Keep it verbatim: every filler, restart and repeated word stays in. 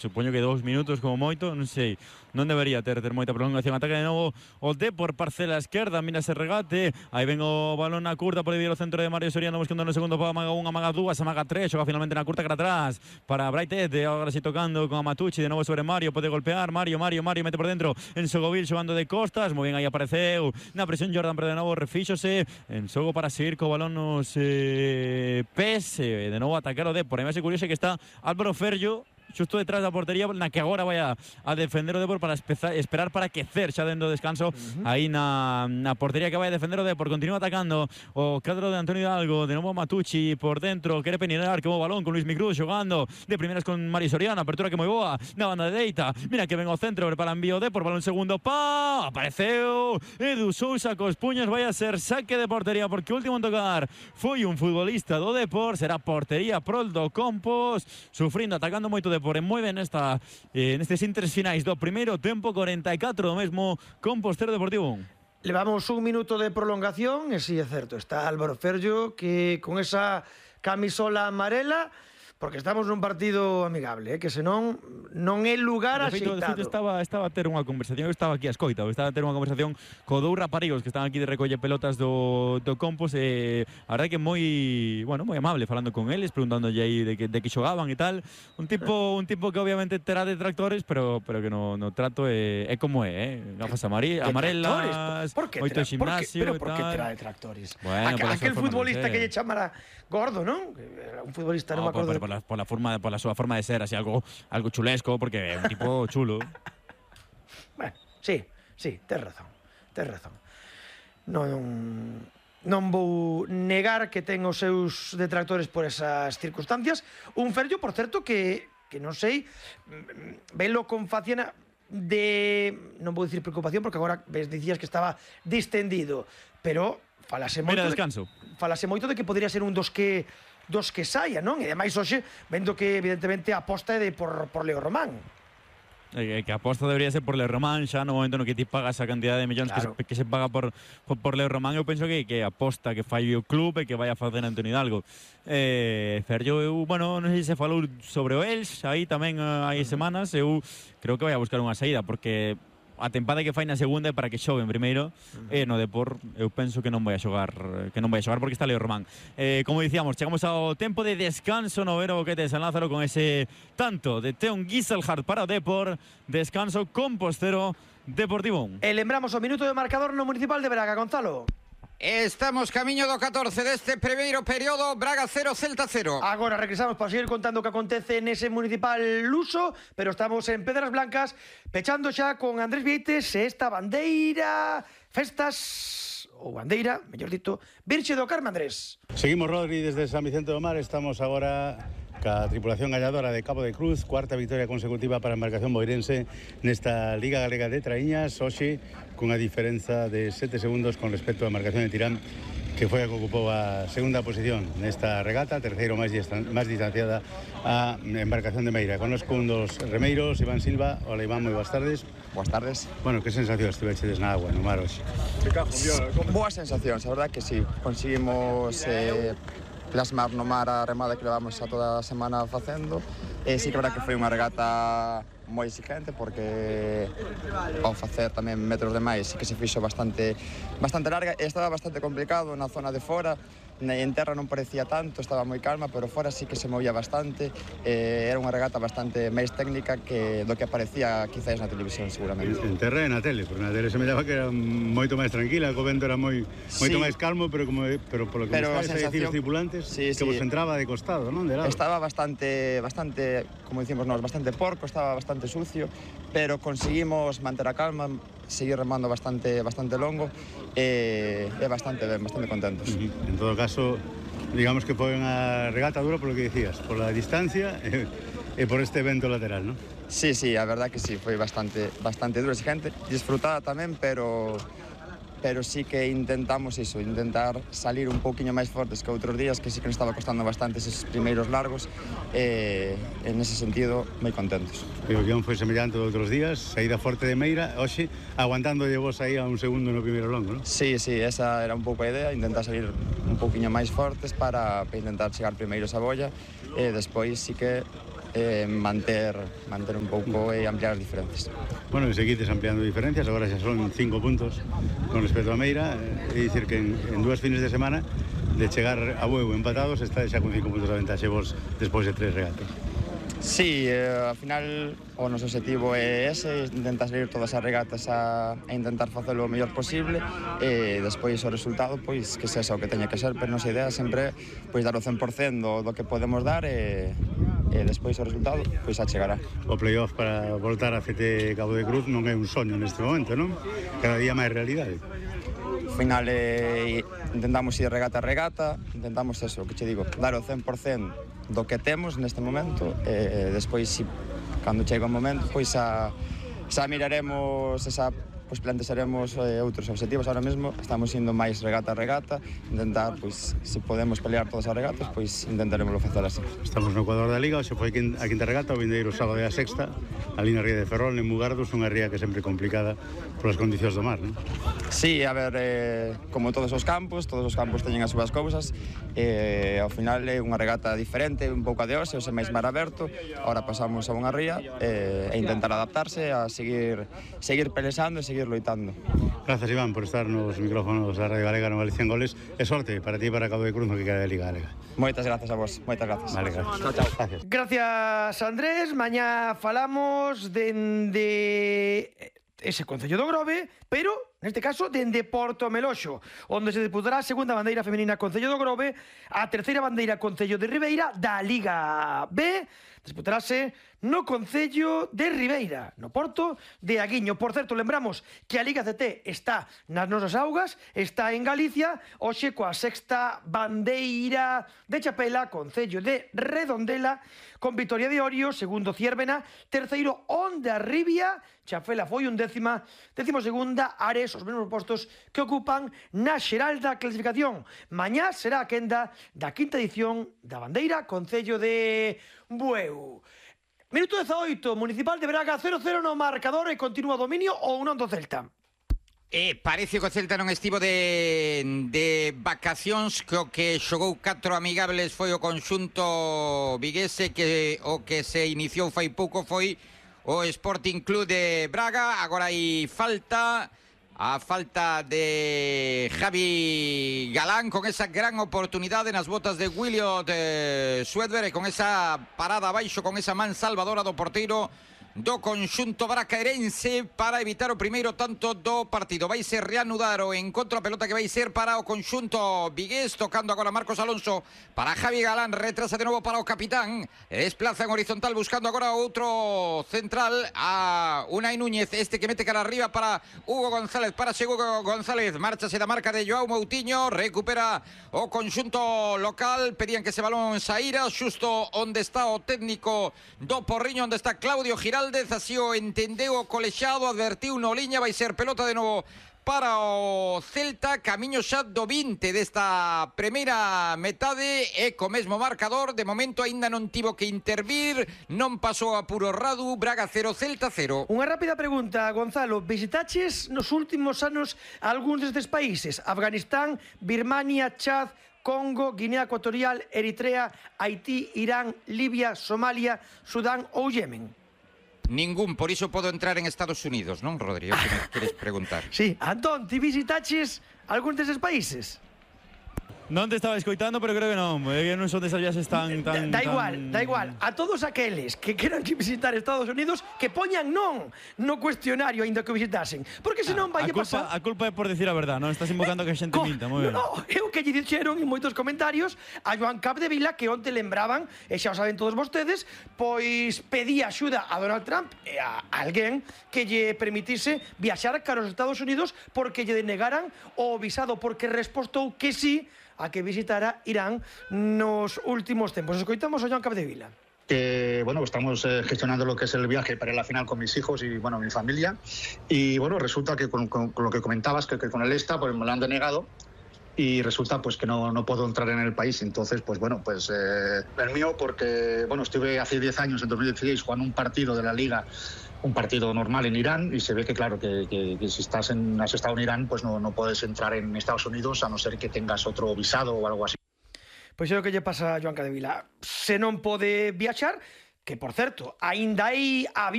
Supoño que dous minutos como moito, non sei, non debería ter, ter moita prolongación. Ataca de novo o Depor, parcela esquerda, mira ese regate, aí ven o balón na curta, por aí o centro de Mario Soriano buscando no segundo pau, amaga unha, amaga dúas, amaga tres, xoga finalmente na curta cara atrás para Braitet, agora si tocando con Amatucci, de novo sobre Mario, pode golpear, Mario, Mario, Mario, mete por dentro en Sogovil, xogando de costas, moi ben, aí apareceu na presión Jordan, pero de novo refíxose, en xogo para seguir co balón nos eh, pés, de novo atacar o Depor, e máis curioso que está Álvaro Ferllo, xusto detrás da portería na que agora vai a, a defender o Depor para espezar, esperar para quecer xa dentro do descanso uh-huh. aí na, na portería que vai a defender o Depor. Continúa atacando o cadro de Antonio Hidalgo, de novo Matucci por dentro, quere penetrar que o balón con Luis Micruz xogando de primeras con Mario Soriano, apertura que moi boa na banda de dereita, mira que ven o centro para envío Depor, balón segundo, pa, apareceu Edu Sousa cos puños, vai a ser saque de portería porque o último en tocar foi un futbolista do Depor, será portería prol do Compos, sufrindo, atacando moito Depor. Por moi ben nesta, eh, nestes intres finais do primeiro tempo, cuarenta e catro do mesmo Compostero Deportivo. Levamos un minuto de prolongación e si sí, é certo, está Álvaro Ferllo que con esa camisola amarela, porque estamos nun partido amigable, eh, que senón non é lugar axeitado. De feito, estaba, estaba a ter unha conversación, eu estaba aquí a escoita, eu estaba a ter unha conversación co dous raparigos que están aquí de recolle pelotas do, do Compos, e a verdade que moi, bueno, moi amable falando con eles, preguntándolle aí de que, de que xogaban e tal. Un tipo, un tipo que obviamente terá detractores, pero, pero que no, no trato é, é como é, eh? Gafas amarelas, moito gimnasio e tal. Pero por que terá detractores? Bueno, Aquel, aquel futbolista que lle chamara gordo, non? Un futbolista, non me acordo. Por la, por la forma, por la súa forma de ser, así algo algo chulesco, porque é un tipo chulo. Bueno, sí, sí, tes razón, tes razón. Non non vou negar que ten os seus detractores por esas circunstancias. Un Ferllo, por certo, que que non sei, velo con faciana de, non vou dicir preocupación, porque agora ves, dicías que estaba distendido, pero falase moito, Mira, descanso. De, falase moito de que podría ser un dos que dos que saia, non? E ademais hoxe, vendo que evidentemente a aposta é de por, por Leo Román. Eh, que a aposta debería ser por Leo Román, xa no momento no que ti pagas a cantidad de millóns claro. que, se, que se paga por, por, por Leo Román, eu penso que, que aposta que fai o club e que vai a facer Antonio Hidalgo. Eh, Ferllo, eu, bueno, non sei se falou sobre o Elx, aí tamén hai semanas, eu creo que vai a buscar unha saída, porque a tempada que fai na segunda é para que xogue en primeiro, uh-huh. e no Depor eu penso que non vai a xogar, que non vai a xogar porque está Leo Román. Eh, como dicíamos, chegamos ao tempo de descanso no Vero Boquete de San Lázaro con ese tanto de Teon Giselhardt para o Depor, descanso Compostero Deportivo. E lembramos o minuto de marcador no Municipal de Braga, Gonzalo. Estamos camiño do catorce deste primeiro período, Braga cero, Celta cero. Agora regresamos para seguir contando o que acontece nese Municipal luso, pero estamos en Pedras Blancas, pechando xa con Andrés Vieites e esta bandeira, festas, ou bandeira, mellor dito, Virxe do Carme, Andrés. Seguimos, Rodri, desde San Vicente do Mar, estamos agora ca tripulación galladora de Cabo de Cruz, cuarta victoria consecutiva para a embarcación boirense nesta Liga Galega de Traíñas, hoxe cunha diferenza de sete segundos con respecto á embarcación de Tirán, que foi a que ocupou a segunda posición nesta regata, terceiro máis, máis distanciada a embarcación de Meira. Conozco un dos remeiros, Iván Silva. Hola, Iván, moi boas tardes. Boas tardes. Bueno, que sensación estivechedes na agua, no mar hoxe? Boas sensacións, a verdade que sí, conseguimos eh, plasmar no mar a remada que levamos a toda a semana facendo, e sí que a verdade que foi unha regata moi exigente, porque ao facer tamén metros de máis sí que se fixo bastante bastante larga e estaba bastante complicado na zona de fora. En terra non parecía tanto, estaba moi calma, pero fora sí que se movía bastante. Eh, era unha regata bastante máis técnica que do que aparecía quizás na televisión, seguramente. En, en terra e na tele, porque na tele se me daba que era moito máis tranquila, o vento era moi moito sí. máis calmo, pero como pero polo que pero me estáis a dicir os tripulantes, sí, que sí. vos entraba de costado, non? De lado. Estaba bastante bastante, como dicimos nós, bastante porco, estaba bastante sucio, pero conseguimos manter a calma, seguir remando bastante bastante longo e, e bastante ben, bastante contentos. Uh-huh. En todo caso, digamos que foi unha regata dura polo que dicías, por la distancia e, e por este vento lateral, non? Sí, sí, a verdad que sí, foi bastante bastante dura, exigente, disfrutada tamén, pero pero sí que intentamos iso, intentar salir un pouquiño máis fortes que outros días, que sí que nos estaba costando bastante esos primeiros largos, e en ese sentido moi contentos. E o guión foi semellante de outros días, saída forte de Meira, hoxe aguantándolle vos aí a un segundo no primeiro longo, non? Sí, sí, esa era un pouco a idea, intentar salir un pouquiño máis fortes para, para intentar chegar primeiros a bolla, e despois sí que eh, manter, manter un pouco e ampliar as diferencias. Bueno, e seguides ampliando diferencias, agora xa son cinco puntos con respecto a Meira, é dicir que en, en dúas fines de semana de chegar a Bueu empatados está xa con cinco puntos de ventaxe vos despois de tres regatas. Sí, eh, ao final o noso objetivo é ese, intentar salir todas as regatas a, a intentar facelo o mellor posible e despois o resultado, pois, que sexa o que teña que ser, pero nosa idea sempre pois dar o cen por cen do, do que podemos dar e, e despois o resultado pois a chegará. O playoff para voltar a C T Cabo de Cruz non é un soño neste momento, non? Cada día máis realidade. Ao final eh, intentamos ir regata a regata, intentamos eso, que che digo, dar o cen por cen do que temos neste momento e despois, si, cando chega o momento, pois a, xa miraremos esa, pois plantexaremos eh, outros objetivos. Ahora mesmo estamos indo máis regata a regata, intentar, pois, se podemos pelear todas as regatas, pois intentaremos facer así. Estamos no Ecuador da Liga, hoxe foi a quinta regata, o vindeiro sábado e a sexta, ali na ría de Ferrol, en Mugardos, unha ría que é sempre complicada polas condicións do mar, non? Sí, a ver, eh, como todos os campos, todos os campos teñen as súas cousas, e eh, ao final é unha regata diferente, un pouco de hoxe, hoxe máis mar aberto, ahora pasamos a unha ría eh, e intentar adaptarse a seguir, seguir pelexando e seguir loitando. Gracias, Iván, por estar nos micrófonos da Radio Galega no Galicia en Goles, e sorte para ti e para Cabo de Cruz no que queda de Liga Galega. Moitas grazas a vos, moitas grazas. Vale, gracias. Chao, chao. Gracias. Gracias, Andrés. Mañá falamos dende ese Concello do Grove, pero neste caso dende Porto Meloxo, onde se disputará a segunda bandeira femenina Concello do Grove, a terceira bandeira Concello de Ribeira da Liga B, disputarase no Concello de Ribeira, no Porto de Aguiño. Por certo, lembramos que a Liga C T está nas nosas augas, está en Galicia, hoxe coa sexta bandeira de Chapela, Concello de Redondela, con Vitoria de Orio, segundo Ciervena, terceiro Onda Ribia, Chafela foi un décima, décimo segunda Ares, os mesmos postos que ocupan na xeral da clasificación. Mañá será a quenda da quinta edición da bandeira Concello de Bueu. Minuto dezaoito, Municipal de Braga cero cero no marcador e continúa dominio ou non do Celta. E parece que o Celta non estivo de, de vacacións, que o que xogou catro amigables foi o conxunto viguese, que o que se iniciou fai pouco foi o Sporting Club de Braga. Agora hai falta, a falta de Javi Galán, con esa gran oportunidade nas botas de Williot eh, Swedberg, e con esa parada abaixo, con esa man salvadora do porteiro do conxunto bracaerense para evitar o primeiro tanto do partido. Vai ser reanudar o encontro, a pelota que vai ser para o conxunto vigués, tocando agora Marcos Alonso para Javi Galán, retrasa de novo para o capitán, desplaza en horizontal buscando agora outro central, a Unai Núñez, este que mete cara arriba para Hugo González, para Hugo González, márchase da marca de Joao Moutinho, recupera o conxunto local, pedían que ese balón saíra xusto onde está o técnico do Porriño, onde está Claudio Giraldez, así o entendeu o colexado, advertiu no liña, vai ser pelota de novo para o Celta, camiño xa do vinte desta primeira metade e co mesmo marcador. De momento aínda non tivo que intervir, non pasou a puro Radu. Braga cero, Celta cero. Unha rápida pregunta, Gonzalo, visitaches nos últimos anos algúns destes países? Afganistán, Birmania, Chad, Congo, Guinea Ecuatorial, Eritrea, Haití, Irán, Libia, Somalia, Sudán ou Yemen? Ningún, por iso podo entrar en Estados Unidos, non, Rodrigo, que me queres preguntar? Sí, Antón, ti visitaches algún deses países? Non te estaba escoitando, pero creo que non. Eh, non son desas viaxes tan... tan da, da igual, tan... da igual. A todos aqueles que queran visitar Estados Unidos, que poñan non no cuestionario aínda que visitasen. Porque senón vai a culpa, pasar... A culpa é por decir a verdade, non? Estás invocando que a xente Co... minta, moi ben. No, no, é o que lle dixeron en moitos comentarios a Joan Capdevila, que onte lembraban, e xa o saben todos vostedes, pois pedía axuda a Donald Trump e a alguén que lle permitise viaxar cara aos Estados Unidos porque lle denegaran o visado, porque respostou que sí a que visitara Irán nos últimos tempos. Escoitamos a Joan Capdevila. Que bueno, estamos eh, gestionando lo que es el viaje para ir a la final con mis hijos y bueno, mi familia. Y bueno, resulta que con, con, con lo que comentabas, que, que con el ESTA pues me lo han denegado y resulta pues que no, no puedo entrar en el país. Entonces, pues bueno, pues eh, el mío porque bueno, estuve hace diez años, en dos mil dieciséis, jugando un partido de la Liga, un partido normal en Irán, y se ve que claro, que, que, que si estás en, has estado en Irán, pues no, no puedes entrar en Estados Unidos a no ser que tengas otro visado o algo así. Pois é o que lle pasa a Joan Capdevila. Se non pode viaxar, que, por certo, aínda hai